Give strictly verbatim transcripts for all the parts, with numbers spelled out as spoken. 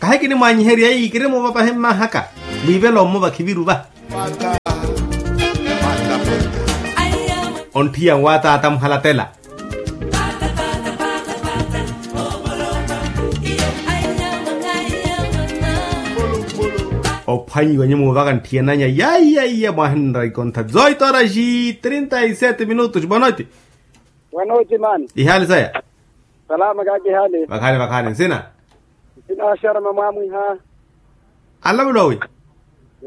Ahikinimwaanyiherya eyi kirimuva pahi mmahaka. Mwiivela ommo vakhiviru va. Ontthiya nwaataata muhalatela. Ophwanyiwa nyumo vaka ntthiyananya yaiyaiya mwahinra ikontha zoitoraxi trinta y sete minutos boa noite. Wanoci mani. Ihali saya. Salama kaki hali. Vakhani vakhani nsina. Nsina sharama mwamwiha. Alavulowi.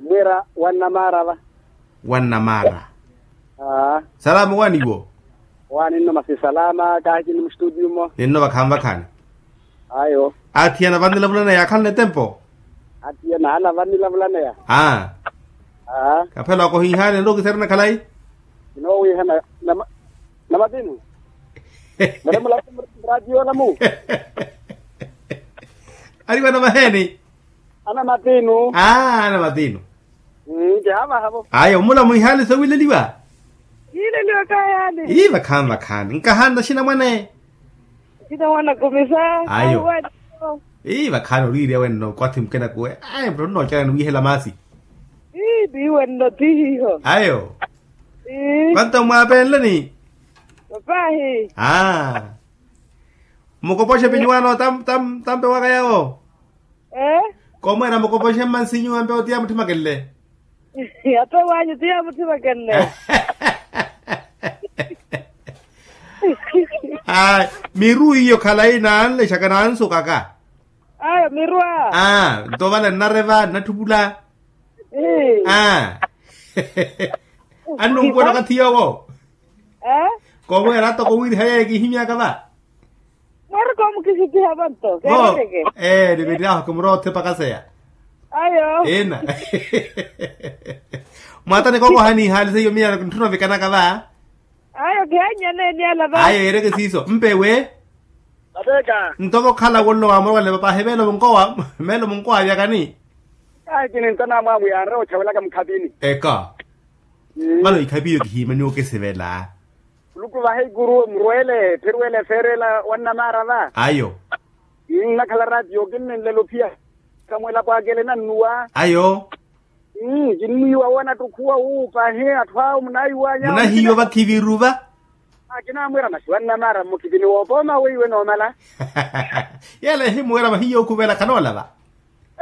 Mwira wannamara va. Wannamara. Aa. Salama waniwo. Waninno masi salama kaki ni mustudio mo. Ninno vakhani vakhani. Ayo. Athiyana vanilavulaneya akhanle tempo. Athiyana ala vanilavulaneya. Aa. Aa. Kaphela wakohihaani nrukiseri nakhalai. Kinoowiha na matinu. Muremula. Muradiyo lamu. Aliwa na maheni. Ana matinu. Aa ana matinu. Nkihamahavo. Ayo mula mwihali sowileliwa. Yileliwa kayani. Ii vakhani vakhani nkahanna xina mwane. Xina mwana kumisa. Ayo. Ii vakhani oliirya wenno kwathi mukena kuwe. Ayi mutto nnoocerani wihela maasi. Ii piiwe nno tihiho. Ayo. Ii. Vanto mwaapenleni. Papahi. Aa. Mukopoxe pinyuwano tampe waka yawo. Komweera mukopoxe mmansi nyuwa mpe otiya mutthimakenle. Ato wanyu tiya mutthimakenle. Miru iyo khalayi nanlexaka nansukaka. Ayo miru a. Nto vale nnareva nnatthupula. Aa. Annunkuwela okathi yoowo. Komweera atoko wiiriha yeeyo kihimyaka va. Mwariko mukisitiha vanto keereke. Ee niviryaho kimurothe pakaseya. Ayo. Ina. Mwatani kokoha niihaali seiyo miya ntthuna ovikanaka va. Ayo kihannyane niyala va ayo yeereke siiso mpewe. Vateka. Ntoko okhala wonno wamorowale papahi meelo munkowa meelo munkowa avyakani. Ayi kini ntana mwamu yaanre otthawelaka mukhapini. Eka. Vano ikhapi iyo kihiimaniwa okisivela. Muluku vahe ikuru murwele phirwele feerela wannamaara va. Ayo. Nnakhala ratiyo kinninlela ophiya. Kamwela pwaakele nannuwa. Ayo. Kinniiwa wona ttukhuwa wuupahe atthu awo munaiwanya munahiyo vakhiviru va. Akinamwira masi wannamaara mmukhipini woopooma weiwe noomala. Yela ehimuwera vahiyo okhuvela khanoolava.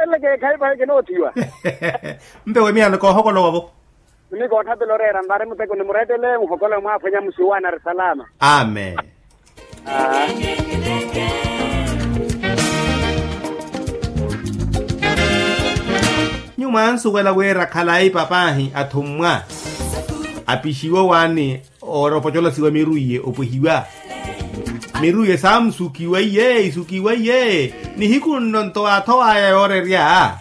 Eleke khaipa kinoothiwa. Mpewe miyano koohokolowa vo. Ni koothapela oreera mbari muteko nimurettele muhokolowe mwaaphwenya musiwana ari salama. Amen. Nyuwo mwansuwela wira khalayi papahi athummwa apixiwe owaani. Oora opocolasiwa miru iye opwehiwa. Miru iye saamusukiwa iye isukiwa iye. Nihiku nno nto waathowaya yoorerya.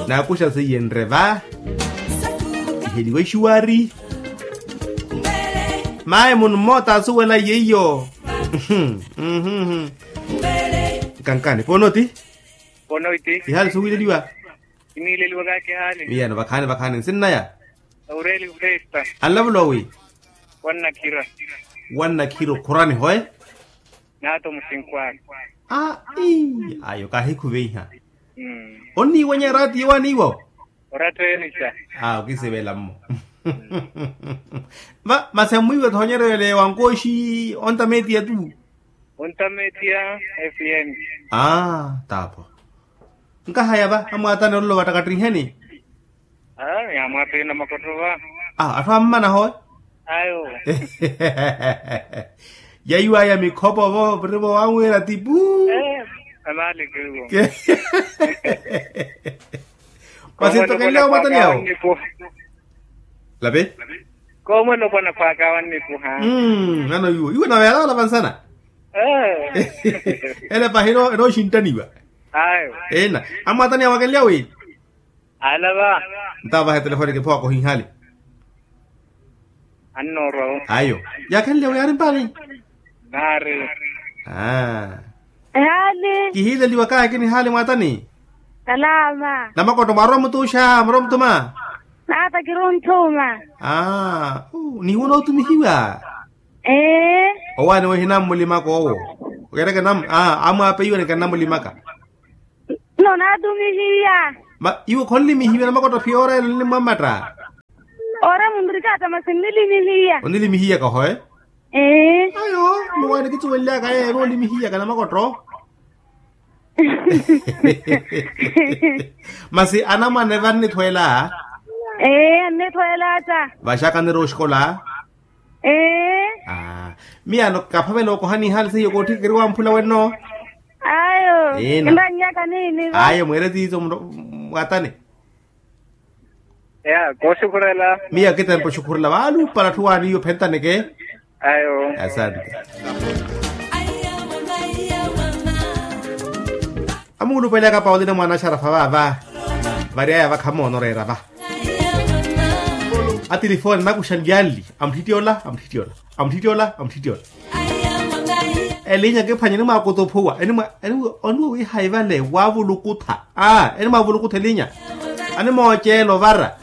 Naakuxa seiye nreva iheliwa ixuwari. Mayi munu mmoota asuwela iye iyo. Nkankani pono ti. Pono iti ihali suwileliwa. Kiniileliwa kakihaani. Iyano vakhaani vakhaani nsinnaya. Aureli festa. Anlavula owi. Wannakhira. Wannakhira okhurani hoe. Naato musinkwani. Aa ii ayo kahikhuveiha. Onniiwanya eraati yowaaniiwo. Oratteenisa. Aa okisivela mmo. Masi ammwiiwa thoonyeryo ele wankooxi ontametiya tu. Ontametiya. Fm. Aa taapo. Nkahaya va amwaatani ololo vattakattiheni. Aa yaamwaatani na makotto va. Aa atthu ammana hoe. Ayo. Yaiwaya mikhopo vo virivo wanwira tipu. Amaaleke vo. Masi nto kenle omwaatani awo. Lapi. Koomwela opwana pwaaka wannipuha. Ano iwo iwo nawe yalavala vansana. Ele pahi enooxinttaniwa. Ayo. Ena amwaatani awo akenlya wi. Alava. Ntaavaha etelefoni kiphowa kohinhali. Annoorwa. Ayo. Yakhenlya wi ari mpani. Naari. Aa. Ehali. Kihiileliwa kahi kinihaali mwaatani. Salama. Namakotto mwaarwa mutuuxa murwa mutuma. Naata kiruntthuma. Aa. Nihiwo nootumihiwa. Ee. Owaani wehinamulimaka owo. Okereke namu aa amwaapeiwa nikannamulimaka. Nonatumihiya. Iwe khonlimihiwe namakotto phiya ora elo nlimwammatta? Ora munrikata masi nlilimihiya. Onlilimihiya kahoye. Ayo, muwaani kitsuwenlyaka yeyo noolimihiya ka namakotto. Masi anamwane vannithweela? Ee annithweela ata. Vaxaka anirowa oxikola? Ee. Miyaano kaphavela okoha nihaali seiyo kootthi kiriwa mphula wenno. Ayo. Kinannyaka niini vo. Ayo mweere tiizo mwatane. Ya kooxukhurela. Miya kitempa oxukhurela vaaluupala atthu waaniyo phentaneke. Ayo. Asante. Amuulupelaka paulina mwana axarafa vaava. Variyaya vakhamoona oreera va. Atilifoni anakuxa nlyanli. Amutthityola amutthityola. Amutthityola amutthityola. Elinya kiphwanya enimwaakutuphuwa enimwa. Oniwe wihaiva le wavulukutha. Aa enimwaavulukutha elinya. Animooceela ovara.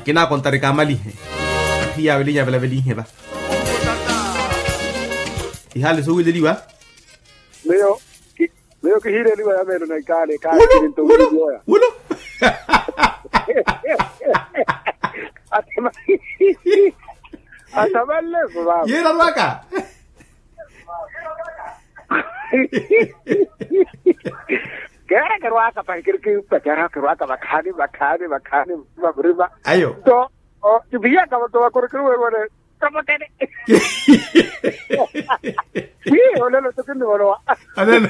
Kinaakontari kaamalihe. Athiyawe elinya avelavelihe va. Ihaali suwileliwa. Miyo miyo kihiireliwa ya meelo na ikaale kaakiri nto wululioya. Wulo. Atamanleso vava. Yiira rwaka. Keera kerwaka pahi kiri kipa keera kerwaka vakhaani vakhaani vakhaani. Vavuriva ayo. To o kiviyaka vato vakorokeri weerwene. Kapotele. Ii olelo tokinivolowa. Olelo.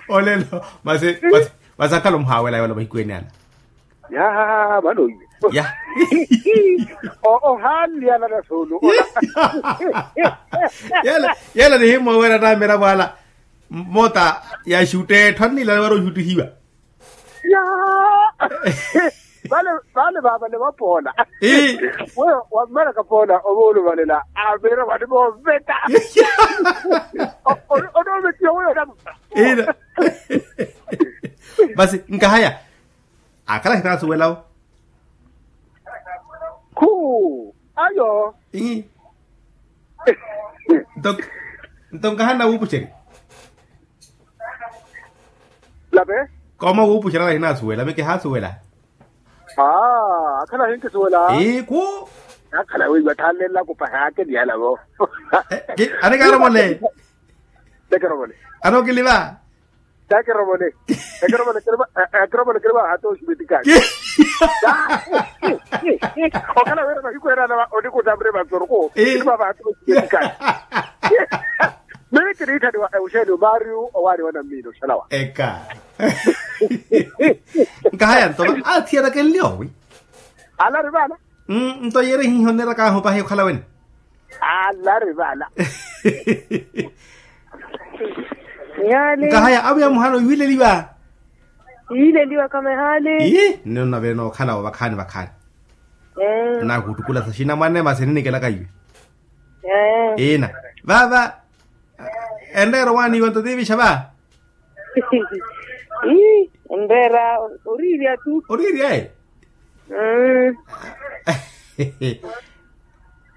Olelo. Masi masi akhala omuhaawela yoola mahiku ene ala. Ya vano iwe. Ya. Ohaanli ala nasulu. Yela yela nihimmoowela naamira vwala. Mota ya xutte etthu annilala wari oxuttihiwa. Ya. Vale vale vava nivapoola. Weyo wammalaka poola ovooluvalela avira vani vooveta. Onoovetiwa weyo namupa. Ina. Masi nkahaya akhala ahinasuwelawo. Khuu ayo. Ii. Nto nkahana wuupuxerya. Lape. Kooma wuupuxerya ahinasuwela mi kihasuwela. Aa akhala ahinkisuwela. Iiku. Akhala weiwa thanlelelaku pahi akeliyalavo. Anikaaromole. Tekeromole. Anokiliva. Takirovole. Takirovole kiriva hata oximetikani. Okhala wira mahiku ene ana onikutamre vatoroko kiriva vahata oximetikani. Mimi kiniithaniwa euxenio mario owaani wa nammina oxalawa. Eka. Nkahaya nto athiyana kenliowi. Alari vana. Nto yeerihiha oneera kaahu pahi okhala wene. Alari vana. Nkahaya awiya muhana oyiwileliwa. Yiileliwa kama ehaali. Ii nino navene okhalawo vakhaani vakhaani. Nakutukula saxina mwane masi ninikelaka iwe. Ina vava. Enreera owaaniwa nto tiivixa va. Ii enreera. Oriirya tu oriirya e.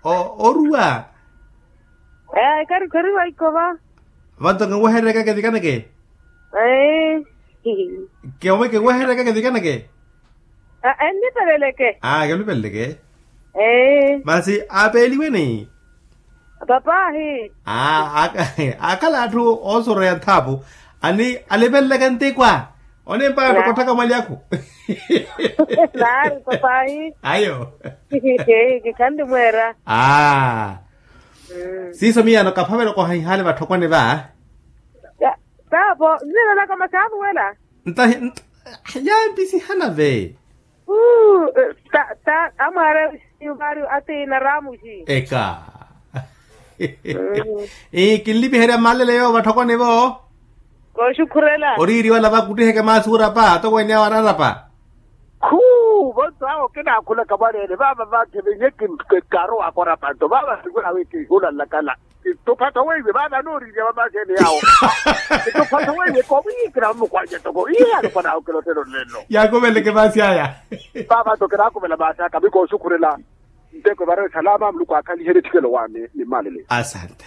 Oruwa. Ee karikhoriwa ikova. Vanto kenwehererya keke vikaneke. Ee. Kenwehererya keke vikaneke. Aa enlipeleleke. Aa kelupeleleke. Ee. Masi aapeeliweni. Papaahi. Aa akhala atthu oosoroya nthaapu. Ani alipeleleke ntikwa. Onimpa atthu kotthaka mwali akhu. Naari papaahi. Ayo. Kikhanli mweera. Aa. Siiso miyaano kaphavela okoha ihaali vatthokwane va. Taapo nzina naka masi anuwela. Ntahi yampisihana ve. Uu ta ta amwaara. Yumaari atiina raamuxi. Eka. Ii kinlipiherya mmalele yoowo vatthokwane-vo. Kooxukhurela. Oriiriwala vakuttiheke maasi orapa toko ene awo ararapa. Khuu vonto awo kinaakhulaka mwaleene vaava vanke vinye. Kaarowaaka orapa nto vaava sikwela wi kihulalakala. Ntuphatho weiwe vaana anooriirya vamaasi ene yaawo. Ntuphatho weiwe koowiikira vamukwanya toko iye alukwanaawo kilottelo nlelo. Yaakuveleke maasi aya. Vaava nto kinaakuvela maasi aka mikooxukhurela. Nteko evareo esalaama muluku aakhalihe nitthikelo waani ni mmalele. Asante.